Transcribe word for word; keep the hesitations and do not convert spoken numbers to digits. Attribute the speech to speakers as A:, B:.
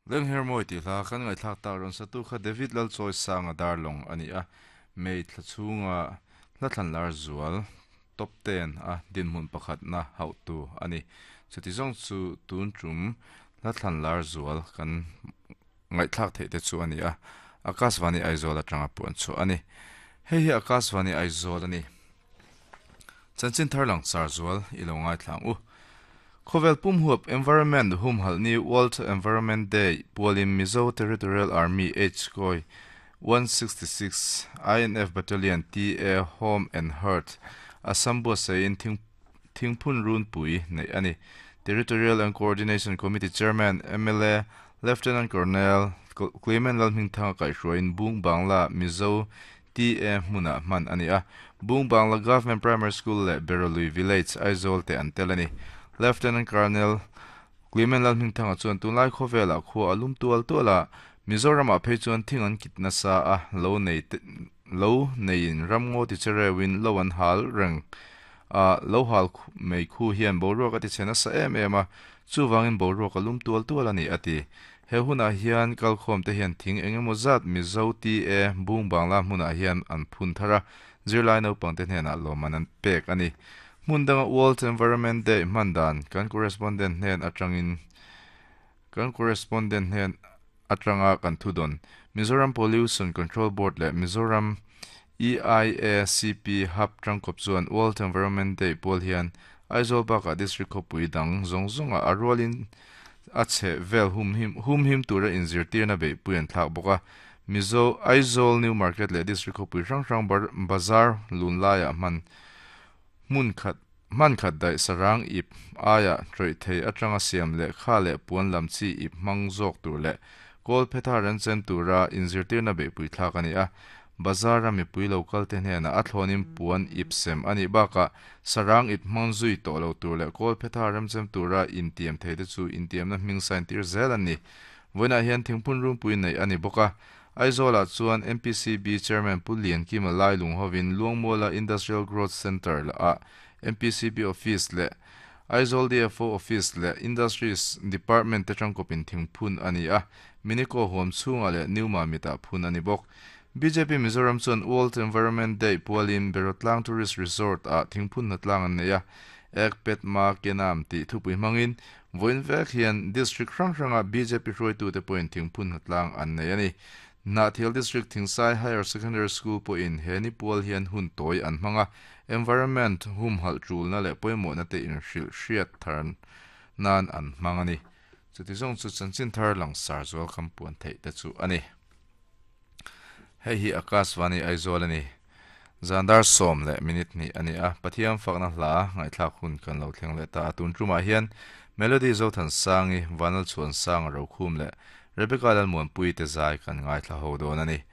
A: Lengher mawi tih hla kan ngaihthlak tak rawn satu kha David Lalchawi Sanga Darlawng a ni a, May thla chhunga hla thlan lar zual top ten a dinhmun pakhatna hauhtu a ni. Chuti zawng chu tun tum hla thlan lar zual kan ngaihthlak theih te chu a ni a, Akashvani Aizawl atanga puan chhuah a ni. Hei hi Akashvani Aizawl a ni. Chanchin thar lang sar zual i lo ngaithla ang u. Khawvel pum huap Environment humhalh ni World Environment Day pualin Mizo Territorial Army H Koi one sixty six I N F Battalion T A Home and Hearth Assam buatsaih in thingphun runpui neih a ni. Territorial and Coordination Committee Chairman M L A Lieutenant Colonel Clement Lalhmingthanga kaihhruaiin Bung Bangla Mizo T A hmunah hman a ni a. Bung Bangla Government Primary School leh Berolui Village, Aizawl te an tel a ni. Lieutenant Colonel Clement Lalhmingthanga chuan tunlai khawvelah khua a lum tual tual a, Mizoramah phei chuan thing an kit nasa a, lo nei lo neiin ramngaw ti chereuin lo an hal reng a, lo hal mei khu hian boruak a ti chhe nasa em em a, chuvangin boruak a lum tual tual a ni a ti. He hunah hian kalkhawm te hian thing engemaw zat Mizo T A Bung Bangla hmunah hian an phun thar a, zirlai naupang te hnenah lawmman an pek a ni. Hmun danga World Environment Day hman dan kan correspondent hnen atangin kan correspondent hnen atanga kan thudawn. Mizoram Pollution Control Board leh Mizoram E I A C P Hub tangkawp chuan World Environment Day pual hian Aizawl bakah district khawpui dang zawng zawnga a rualin a chhe vel humhim humhim tura inzirtirna beihpui an thlak bawk a. Mizo Aizawl New Market leh district khawpui hrang hrang bazar lun laiah hman hmun khat hman khat daih sarang ip aia tawih thei atanga siam leh kha leh puan lam chi ip hmang zawk tur leh kawl phetha ran chen tura inzirtirna beihpui thlak a ni a. Bazar a mipui local te hnenah a thlawnin puan ip sem a nih bakah sarang ip hmang zui tawh lo tur leh kawl phetha remchem tura intiam thei te chu intiamna hming sign tir zel an ni. Vawiinah hian thingphun runpui neih a ni bawk a. Aizawlah chuan M P C B Chairman Pu Liankima Lailung hovin Luangmuala Industrial Growth Centre ah M P C B Office leh Aizawl D F O Office leh Industries Department te tangkawpin thingphun a ni a. Miniko huam chhungah leh New Mamitah phun a ni bawk. B J P Mizoram chuan World Environment Day pualin Berotlang Tourist Resort ah thingphun hnatlang an nei a. Ek Ped Maa Ke Naam tih thupui hmangin vawiin vek hian district hrang hranga B J P hruaitute pawhin thingphun hnatlang an nei a ni. Hnahthial District Thingsai Higher Secondary School pawhin he ni pual hian hun tawi an hmang a, environment humhalh tulna leh pawimawhna te inhrilh hriat thar nan an hmang a ni. Chuti zawng chu chanchin thar langsar zual kan puan theih te chu a ni. Hei hi Akashvani Aizawl a ni. Zandar sawm leh minute hnih a ni a, Pathian fakna hla ngaihthlak hun kan lo thleng leh ta a. Tun tumah hian Melody Zothansangi, Vanlalchhuansanga Rokhum leh Rebecca Lalmuanpui te zai kan ngaithla ho dawn a ni.